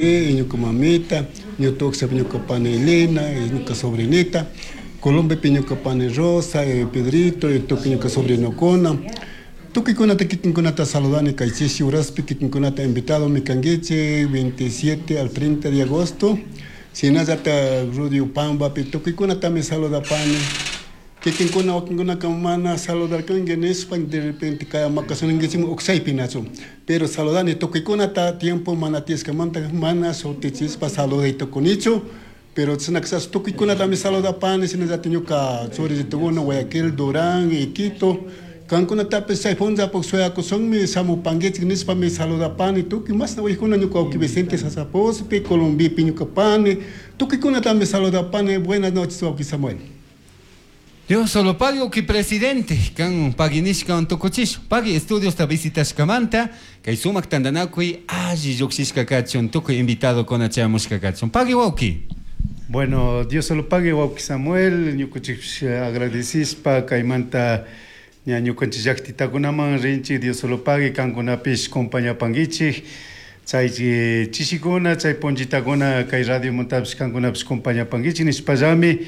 Ñuka mamita, ñuka ñuka pani Elena, ñuka sobrinita, Colombiapi ñuka pani Rosa, Pedrito, tukuy ñuka sobrinokuna. Tukuykunata kikinkunata saludani kay chishi uraspi kikinkunata invitadomi kankichik 27 al 30 de agosto. Shinallata Radio Pambapi tukuykunatami saludapani. Kikinkuna wakinkunaka mana saludarkanki nishpa de repente kay makasunankichikmi uksaypi nachu. Pero saludani tukuykunata tiempo mana tiyashkamanta mana shutichishpa saluday tukunichu. Pero chashna tukuykunatami saludapani shinallata ñuka churitukuna Guayaquil, Durán, Quito. Kankunatapish chay punllapak shuyakushunmi shamupankichik nishpami saludapani tukuy mashna waykuna ñuka wawki Vicente Sasapospi, Colombiapi ñuka pani, tukuykunatami saludapani. Buenas noches, wawki Samuel. Dios solo pague wawki presidente kan pagui nishkawan tukuchish pagui estudiosta visitashkamanta kay sumak tantanakuy alli llukshishka kachun tukuy invitadokuna chayamushka kachun pagui wawki. Bueno, Dios solo pague wawki Samuel, ñukanchik agradecishpa kaymanta ña ñukanchik llaktitakunaman rinchik Dios solo pague kankunapish compañapankichik chay chishikuna chay punchitakuna kay radiomantapish kankunapish compañapankichik nishpallami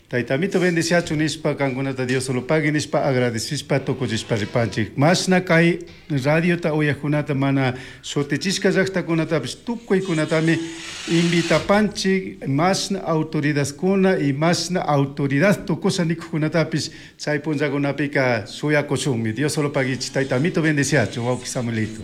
Tayta Amito bendiciachun nishpa kankunata Dios solo pague nishpa agradecishpa tukuchishpa ripanchik mashna kay radiota uyajkunata mana shutichishka llaktakunatapish tukuykunatami invitapanchik mashna autoridadkuna y mashna autoridad tukusha nikuqkunatapish chay punllakunapika shuyakushunmi Dios solo paguichik Tayta Amito bendiciachun wawki Samuelito.